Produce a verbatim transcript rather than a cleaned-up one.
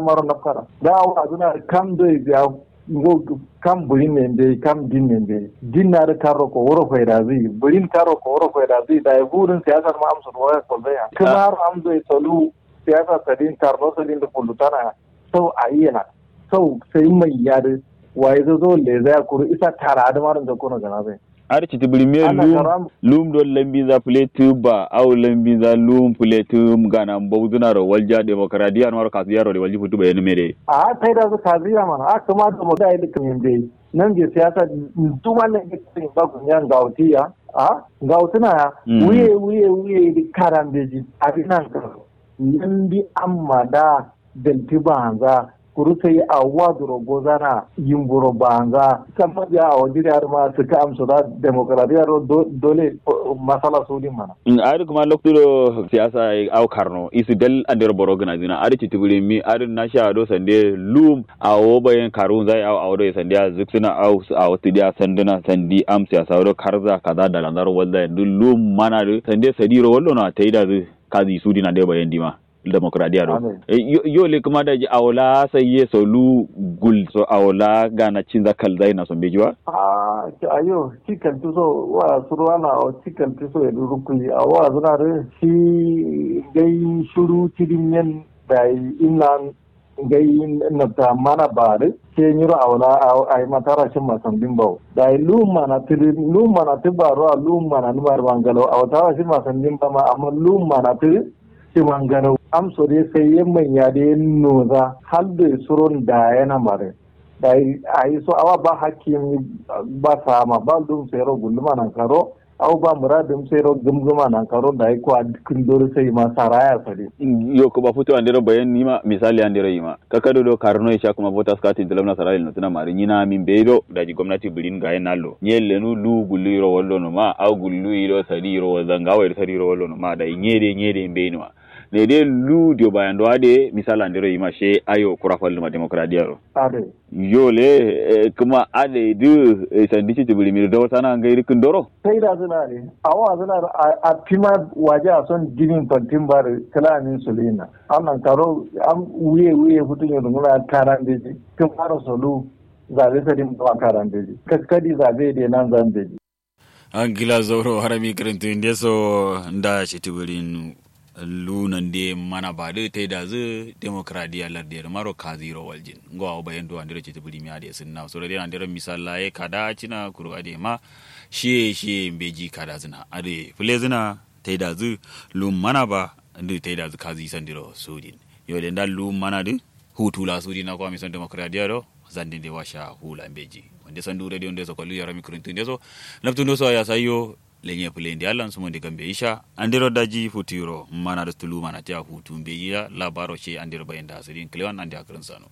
maro nafkara da awo azǝna kam doi biya ngo kam bǝrin ne mbeyi kam din ne mbeyi din na dǝ karro ko wuro faida zǝyi bǝrin karro ko wuro faida zǝyi dayi furin siyasa ma amso waya kolzaya kǝmaro amso solu siyasa sadin karno sadin dǝ fullutana sau ayi yana sau sai mai yadǝ wayi zazo lezaya kuru isa tara adǝ maro nzakkono gana zai adǝ citi bǝrimiye lum lum do lambinza fǝletu ba au lambinza lum fǝletu gana mbauzǝnaro walja demokradiya naro kasuyaro de walji futu bayanǝme de a taida su kaziya mana a kǝma demokradiya dǝ kǝmin de nanje siyasa duma nanje kǝmin ba gunya ngawtiya a ngawtǝna ya wuye wuye wuye dǝ karambeji abi nan karo lambi amma da dalti baanza kuru sai awo wa duro gozana yimburo baanza samma biya awo jiri adǝ ma sǝkka amso da demokradiya ro dole masala sudin mana adǝ kǝma loktu do siyasa ye au karno isu dal andero boro gǝnazǝna adǝ citibǝrimi adǝ nasha do sande lum awo bayen karuwunza ye au awo do ye sande a zǝksǝna au awo tǝdiya sandǝna sandi am siyasa do karza kaza dalanzaro walza ye duk lum mana dǝ sande sadiro wallono a taidazǝ kazi sudin ande bayen dima demokradiya do yo le kǝma daji awo la sai ye so lu gul so awo la gana cinza kalzai na so mbeji wa a ayo ci kaltu so wa suru ana awo ci kaltu so ye duru kuli awo azuna dǝ shi gai shuru cidin yen dayi innan gai nabta mana ba dǝ sai nyiro awo la ayi matara shin masandin bawo dayi lu mana tiri lu mana tibaro lu mana numa mangalo awo tara shin masandin ba ma amma lu mana tiri shimangarau amso dai sai yamman ya dai noza hal dai suron da yana mare dai ayi so awa ba hakki ba sama ba dum sai ro gulluma nan karo au ba muradum sai ro gumguma nan karo dai ko adkin dori sai ma saraya sare yo ko ba futu andero bayan nima misali andero yima kakado do karno isha kuma votas card in tilamna sarali no tuna mari nyina min bedo daji gwamnati birin ga yen allo nye lenu lu gullu iro wallo no ma au gullu iro sadi iro wallo nga wai sadi iro wallo no ma dai nye de nye de mbe no ne de lu dio bayan do ade misala ndero yima she ayo kura fallu ma demokradiya ro ade yo le kuma ade du sandi ci tibiri mi do sana ngai rikin doro sai da suna ne awa suna a fima waje a son ginin fantin bar kalamin sulina annan karo am wuye wuye futun yo dunguna karan beji kin fara solu zabe sadin ba karan beji kakkadi zabe de nan zan beji angila zauro harami kirintu ndeso nda shitibirin lu nande mana badu taidazǝ demokradiya lardiyar maro kaziro waljin ngo awo bayan do andero citibiri mi ade sinna soro de andero misalla ye kada cina kuru ade ma shiye shiye mbeji kada zina ade fule zina taidazǝ lum mana ba ndu taidazǝ kazi sandiro sudin yo de nda lum mana du hutu la sudin na kwa mison demokradiya do zandin de washa hula mbeji wande sandu radio ndeso kollu yarami kirintu ndeso nabtu ndeso ya sayo lenye fule ndi allan sumo ndi gambe isha andero daji futuro mana du tulu mana tiya hutu mbeji la labaro she andero bayanda sudin klewan ande akirin sano